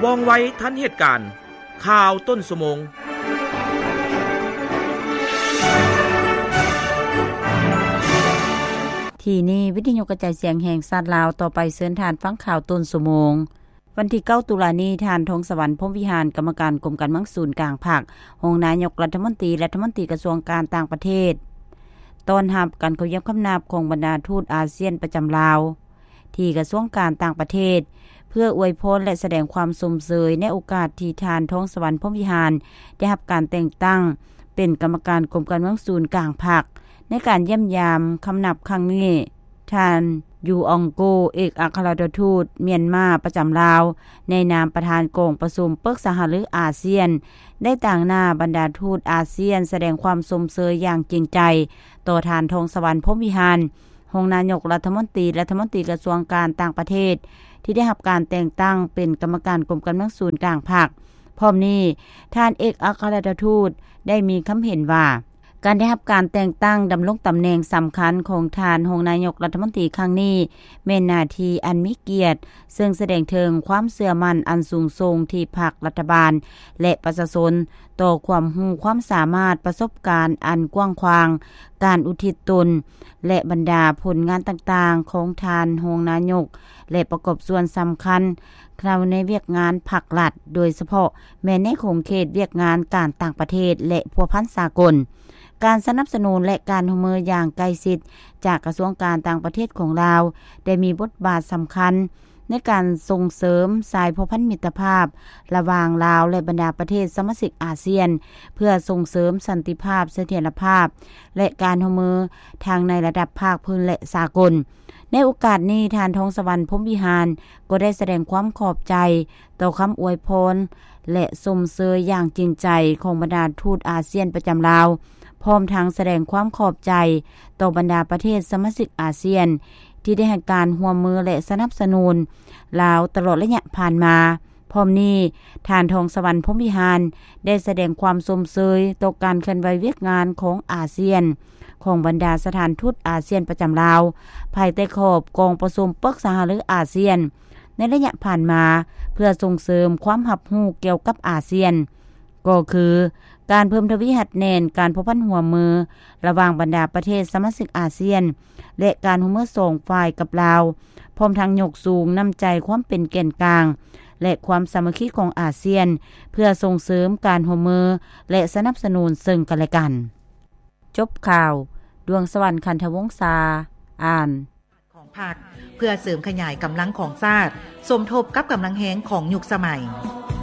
ວ່ອງໄວທັນເຫດການ. ຂ່າວຕົ້ນຊົ່ວໂມງ. ທີ່ນີ້ ວິທະຍຸກະຈາຍສຽງແຫ່ງຊາດລາວ. ຕໍ່ໄປເຊີນທ່ານຟັງຂ່າວຕົ້ນຊົ່ວໂມງ. ວັນທີເກົ້າຕຸລານີ້, ທ່ານ ທອງສະຫວັນ ພົມວິຫານ ກຳມະການກົມການເມືອງສູນກາງພັກ, ຮອງນາຍົກລັດຖະມົນຕີ ລັດຖະມົນຕີກະຊວງການຕ່າງປະເທດ ຕ້ອນຮັບການເຂົ້າຢ້ຽມຄຳນັບຂອງບັນດາທູດອາຊຽນປະຈຳລາວ ທີ່ກະຊວງການຕ່າງປະເທດ ເພື່ອອວຍພອນ ແລະ ສະແດງຄວາມຊົມເຊີຍໃນໂອກາດທີ່ທ່ານ ທອງສະຫວັນ ພົມວິຫານ ໄດ້ຮັບການແຕ່ງຕັ້ງເປັນກຳມະການກົມການເມືອງສູນກາງພັກ. ໃນການຢ້ຽມຢາມຄຳນັບຄັ້ງນີ້, ທ່ານ ຢູອອງໂກ ເອກອັກຄະລັດຖະທູດມຽນມາປະຈຳລາວ ໃນນາມປະທານກອງປະຊຸມປຶກສາຫາລືອາຊຽນ ໄດ້ຕາງໜ້າບັນດາທູດອາຊຽນ ສະແດງຄວາມຊົມເຊີຍຢ່າງຈິງໃຈຕໍ່ທ່ານ ທອງສະຫວັນ ພົມວິຫານ ຮອງນາຍົກລັດຖະມົນຕີ ລັດຖະມົນຕີກະຊວງການຕ່າງປະເທດ ທີ່ໄດ້ຮັບການແຕ່ງຕັ້ງເປັນກຳມະການກົມການເມືອງສູນກາງພັກ. ພ້ອມນີ້, ທ່ານເອກອັກຄະລັດຖະທູດໄດ້ມີຄຳເຫັນວ່າ ການໄດ້ຮັບການແຕ່ງຕັ້ງດຳລົງຕຳແໜ່ງສຳຄັນຂອງທ່ານຮອງນາຍົກລັດຖະມົນຕີຄັ້ງນີ້ ແມ່ນໜ້າທີ່ອັນມີກຽດ, ເຊິ່ງສະແດງເຖິງຄວາມເຊື່ອໝັ້ນອັນສູງສົ່ງທີ່ພັກ, ລັດຖະບານ ແລະ ປະຊາຊົນ ຕໍ່ຄວາມຮູ້ຄວາມສາມາດ, ປະສົບການອັນກວ້າງຂວາງ, ການອຸທິດຕົນ ແລະ ບັນດາຜົນງານຕ່າງໆຂອງທ່ານຮອງນາຍົກ ແລະ ປະກອບສ່ວນສຳຄັນເຂົ້າໃນວຽກງານພັກລັດ, ໂດຍສະເພາະແມ່ນໃນຂົງເຂດວຽກງານການຕ່າງປະເທດ ແລະ ພົວພັນສາກົນ. ການສະໜັບສະໜູນ ແລະ ການຮ່ວມມືຢ່າງໃກ້ຊິດຈາກກະຊວງການຕ່າງປະເທດຂອງລາວ ໄດ້ມີບົດບາດສຳຄັນ ໃນການສົ່ງເສີມສາຍພົວພັນມິດຕະພາບລະຫວ່າງລາວ ແລະ ບັນດາປະເທດສະມາຊິກອາຊຽນ ເພື່ອສົ່ງເສີມສັນຕິພາບ, ສະຖຽນລະພາບ ແລະ ການຮ່ວມມືທັງໃນລະດັບພາກພື້ນ ແລະ ສາກົນ. ໃນໂອກາດນີ້, ທ່ານ ທອງສະຫວັນ ພົມວິຫານ ກໍໄດ້ສະແດງຄວາມຂອບໃຈຕໍ່ຄຳອວຍພອນ ແລະ ຊົມເຊີຍຢ່າງຈິງໃຈຂອງບັນດາທູດອາຊຽນປະຈຳລາວ, ພ້ອມທັງສະແດງຄວາມຂອບໃຈຕໍ່ບັນດາປະເທດສະມາຊິກອາຊຽນ ທີ່ໄດ້ໃຫ້ການຮ່ວມມື ແລະ ສະໜັບສະໜູນລາວຕະຫຼອດໄລຍະຜ່ານມາ. ພ້ອມນີ້, ທ່ານ ທອງສະຫວັນ ພົມວິຫານ ໄດ້ສະແດງຄວາມຊົມເຊີຍຕໍ່ການເຄື່ອນໄຫວວຽກງານຂອງອາຊຽນ ຂອງບັນດາສະຖານທູດອາຊຽນປະຈຳລາວ ພາຍໃຕ້ຂອບກອງປະຊຸມປຶກສາຫາລືອາຊຽນ ໃນໄລຍະຜ່ານມາ ເພື່ອສົ່ງເສີມຄວາມຮັບຮູ້ກ່ຽວກັບອາຊຽນ, ກໍຄື ການເພີ່ມທະວີຮັດແໜ້ນການພົວພັນຮ່ວມມືລະຫວ່າງບັນດາປະເທດສະມາຊິກອາຊຽນ ແລະ ການຮ່ວມມືສອງຝ່າຍກັບລາວ, ພ້ອມທັງຍົກສູງນ້ຳໃຈຄວາມເປັນແກນກາງ ແລະ ຄວາມສາມັກຄີຂອງອາຊຽນ ເພື່ອສົ່ງເສີມການຮ່ວມມື ແລະ ສະໜັບສະໜູນເຊິ່ງກັນແລະກັນ. ຈົບຂ່າວ. ດວງສະຫວັນ ຄັນທະວົງສາ ອ່ານ. ຂອງພັກ ເພື່ອເສີມຂະຫຍາຍກຳລັງຂອງຊາດ, ສົມທົບກັບກຳລັງແຮງຂອງຍຸກສະໄໝ.